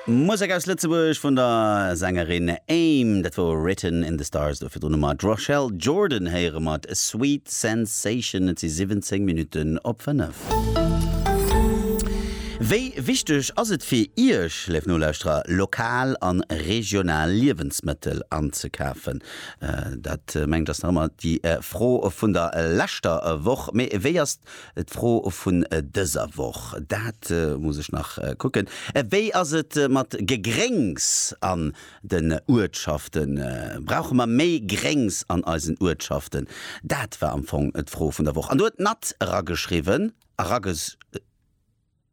Musek aus Lëtzebuerg vun der Sängerin Aim, dat wor Written in the Stars. Do virdrun hu mer d'Rochelle Jordan héiere mat Sweet Sensation. Et si 17 Minutten op 5. Wéi wichteg ass et fir Iech, léif Nolauschterer, lokal an regional Liewensmëttel anzekafen? Dat mengt ass nach ëmmer déi Fro vun der leschter Woch. Mee wéi ass D'Fro vun dëser Woch, dat muss ech nach kucken, Wéi ass et mat Gegréngs an den Uertschaften? Brauche mer méi Gréngs an eisen Uertschaften? Dat war am Fong d'Fro vun der Woch. An do huet d'Nat erageschriwwen, erages.